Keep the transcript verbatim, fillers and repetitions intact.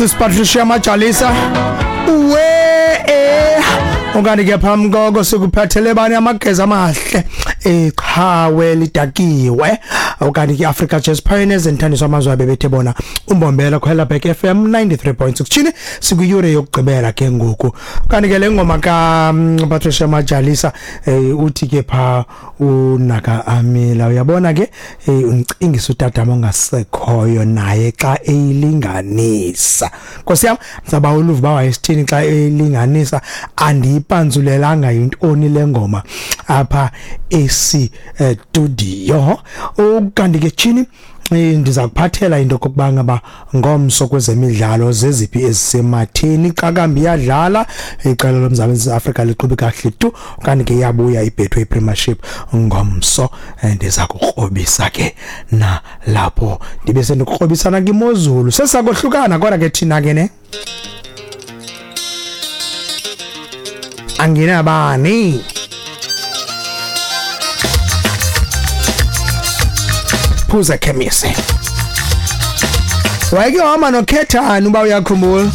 Sis Patricia Majalisa uwe eh okanye ke phambi koko sikuphathele bani amageza amahle eqhawe lidakiwe okanye ke Africa Jazz Pioneers enthandiswa amazwe abebethe bona umbombela khwela back F M ninety-three point six chini sikuyure yokugqibela ke ngoku kanti ke le ngoma ka Patricia Majalisa uthi ke pha unaka Amila uyabona ke uncingisa utata ongasekhoyo naye xa eyilinganisa Nkosi yam ngizaba uluva ba wayesithini xa eyilinganisa andiyipanzulelanga intoni le ngoma apha esi studio ukanti ke chini ndiza kuphathela into kokuba ngaba ngomso kwezemidlalo zeziphi ezisematheni Qakambi iyadlala iqela loMzantsi Afrika liqhube kahle tu kanti ke iyabuya iBetway Premiership ngomso ndiza kukrobisa ke na lapho ndibe sendikrobisana kimozulu sesakohlukana kodwa ke thina ke ne anginabani phuza khemisi wayeke wahamba nokhethani uba uyakhumbula.